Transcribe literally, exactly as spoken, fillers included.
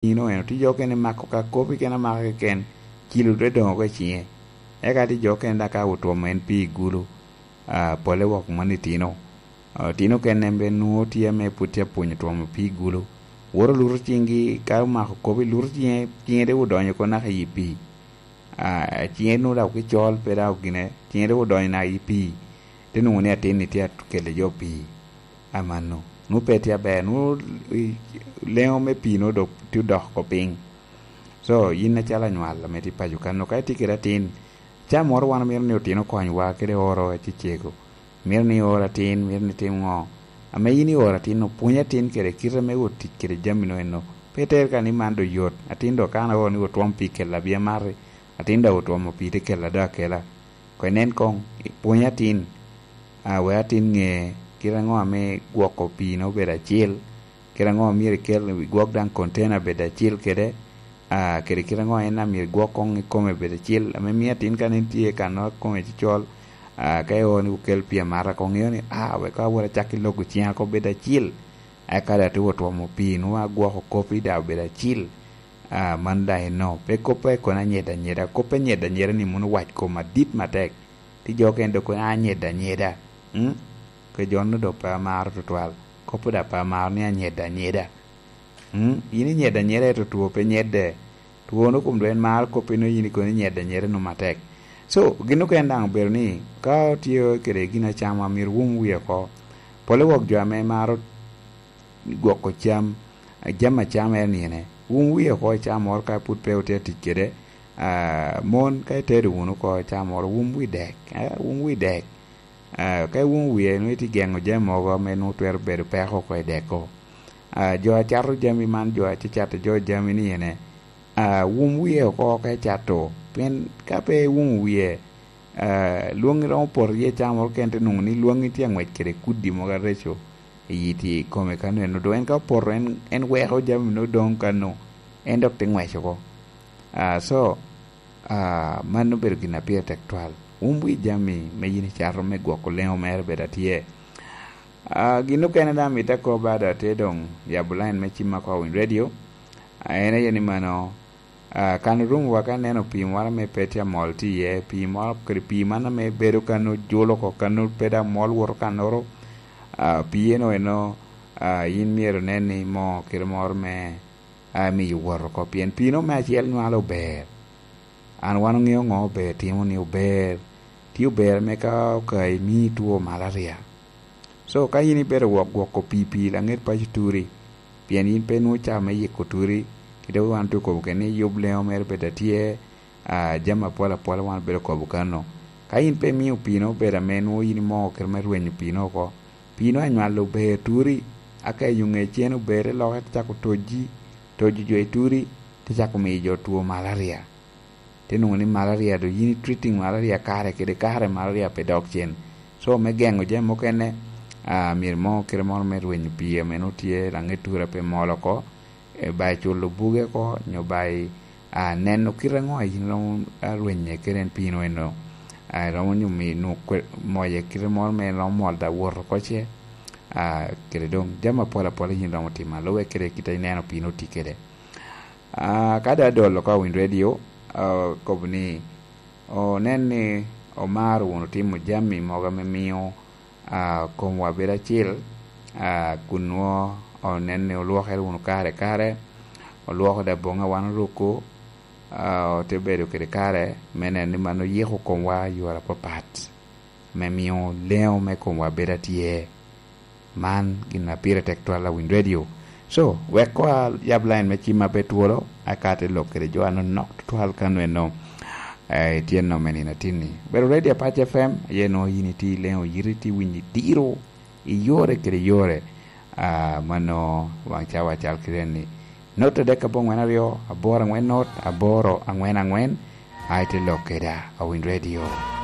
Ino eno, tye jo okene mako ka kop i kene amaka keken, cilo dwe doŋo oko i ciŋe. Eka tye jo okene daŋ ka otwomo en pii i gulu, ah, pole wok mano itino. Ah, itino okene en bene nwoŋo tye ame pwod tye apwonyo twomo pii i gulu. Woto luto ciŋgi, ka omako kop i luto ciŋe, ciŋe te odonyo oko naka i pii. Ah, ciŋe nwoŋo daŋ okicol, pe daŋ ogine, ciŋe te odonyo naka i pii. Te nwoŋo ni atin-ni tye akelle jo pii. Amanno. Nwoŋo pe tye aber, nwoŋo i, leŋo me pii nwoŋo dok tye odok oko piny. So, yin acalo anywal ame tye i paco kan, ka itye kede atin, ca moro wan omito ni otino okonywa kede oro acecego. Mito ni ior atin, mito ni itim ŋo? Ame yin ioro atin, opwony atin kede kite me wot tic kede jami no eno. Pe iter ka ni man do yot. Atin do kan aoro ni otwom pii kella bi amati. Atin daŋ otwomo pii te kella do akela. Ko inen koŋ, pwony atin, ah, wek atin ŋe kite aŋo ame gwoko pii no obedo acil, kite aŋo myero ikel, igwok daŋ container bed acil kede, ah, kede kite aŋo en amyero igwok koŋ i kome bed acil, ame mio atin ka nen tye i kan no kome cocol, ah, ka ioro ni okel pii amata koŋ ŋeo ni, ah, wek ka awot acak i logo ciŋa oko bed acil, eka daŋ te wot twomo pii nwoŋo agwoko kop i daŋ obedo acil, ah, man daŋ eno, pe kop a kono anyeda anyeda, kop anyeda anyeda ni mono owac kom adit matek, tye jo okene dok kono anyeda anyeda, mm? Ke jo-nu dok pe amaro tutwal, kop-pu daŋ pe amaro ni anyeda anyeda. Mm, yin inyedde anyeda, ento two pe nyedde. Two-nu kun doŋ en maro kop, ino yin ikono inyedde anyeda nwoŋo matek. So, gin okene daŋ obedo ni, ka otye kede gin acama, myero wum wie oko. Pole wok jo ame maro gwoko cam, jami acama en nine. Wum wie oko i caa moro ka pwod pe otye atic kede. Ah, mon, ka itedo wunu oko i caa moro, wum wi dek. Eh, wum wi dek. Ah, ka iwumo wie, nwoŋo itye geŋo jami mogo ame nwoŋo twero bedo peko oko i deko. Ah, jo a cato jami man, jo a tye cato jo jami ni ene, ah, wum wie oko ka icato. Pien ka pe iwumo wie, ah, lwongi romo poto iye caa moro kene, te nwoŋo ni lwongi tye aŋwec kede kudi mogo areco i yi tye i kome kano eno. Doŋ en ka opoto, en, en weko jami nwoŋo doŋ kano, en dok te ŋwec oko. Ah, so, ah, mano obedo gin a pire tek twal. Wum wi jami me yin icato me gwoko leŋo mere bed atye. Ah, gin okene daŋ amito akoba, dok atye doŋ yabo line me cim oko i Winy Radio. Ah, en aye ni mano, ah, kan orumowa ka ineno pii moro ame pe tye amol tye iye, pii moro kede pii man ame bedo kano julo oko, kano pe daŋ mol woto kannoro, ah, pii eno eno, ah, yin myero inen ni moo kite moro me, ah, miyo wot oko, pien pii-nu me acel nywalo ober. An wan oŋeo ŋo ober timo ni ober, tye ober ame ka okayi mii two malaria. So, ka yin ibedo wok gwoko pii, pii laŋet paco turi, pien yin pe nwoŋo caa me yiko turi, kite wan tye okobo kene ni yub leŋo mere bed atye, ah, jami apol apol wan obedo kobo kano. Ka yin pe imio pii-nu obedo ame nwoŋo yin imoo kite me rwenyo pii-nu oko, pii-nu anywalo ober turi, aka i yo ŋe cen ober, te loke te cako toji, tojo jo i turi, te cako miyo jo two malaria. Te nwoŋo ni malaria doŋ yin i treating malaria kare kede kare, malaria pe dok cen. So, me geŋo jami mukene, ah, myero mo kite moro me rwenyo pii ame nwoŋo tye laŋet turi a pe mol oko, eh, ba i culo buge oko, nyo ba i, ah, neno kite aŋo a yin romo, ah, rwenye kede en pii-nu eno. Ah, romo nyo mi nwoŋo kwe-, moye kite moro me romo mol da wot oko ce, ah, kede doŋ jami apol apol yin romo timo alube kede kite ineno pii-nu tye kede. Ah, ka dong adolo ka owiny redio, ah, kobo ni, onen ni omaro wunu timo jami mogo ame mio, ah, komwa bedo acil, ah, kun nwoŋo onen ni olwokere wunu kare kare, olwoko dong aboŋa wan oruko, ah, ote bedo kede kare me neno ni man oyiko komwa i yore apapat, me mio leŋo me komwa bedo atye. Man gin a pire tek twal a Winy Radio. So, wek koŋ ayab line me cim a pe twolo, aka te lok kede jo anonok tutwal kano eno, eh, itye nom me nino atinni. Bedo ready Apac F M, aye nwoŋo yin itye i leŋo yiti, itye winyo i diro, i yore kede yore. Ah, mano waŋ cawa cal kede ni. Not adek abongwen aryo, aboro angwen not, aboro angwen angwen, a ite lok keda a Winy Radio.